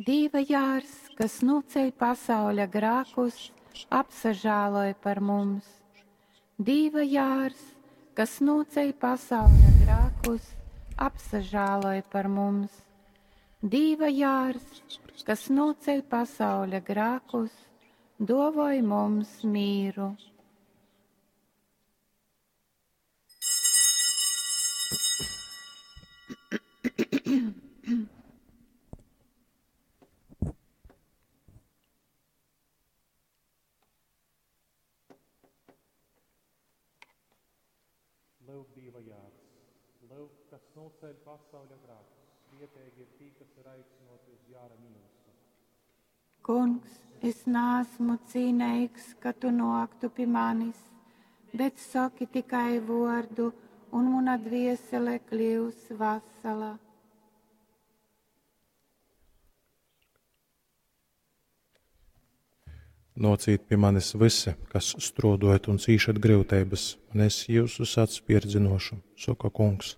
Dīva jārs, kas nūceļ pasauļa grākus, apsažāloj par mums. Dīva jārs, kas nūceļ pasauļa grākus, apsažāloj par mums. Dīva jārs, kas nūceļ pasauļa grākus, dovoj mums mīru. Lyuk, Dīva jārs, lyuk, kas nūceļ pasauļa grākus. Svieteigi ir tī, kas ir aicynōti uz jāra mīlustu. Kungs, es naesmu cīneigs, ka tu nōktu pi manis, bet soki tikai vōrdu, un muna dviesele kļius vasala. Nōcīt pi manis vysi, kas strōdojat un cīšat gryuteibas, un es jyusus atspierdzynōšu, soka Kungs.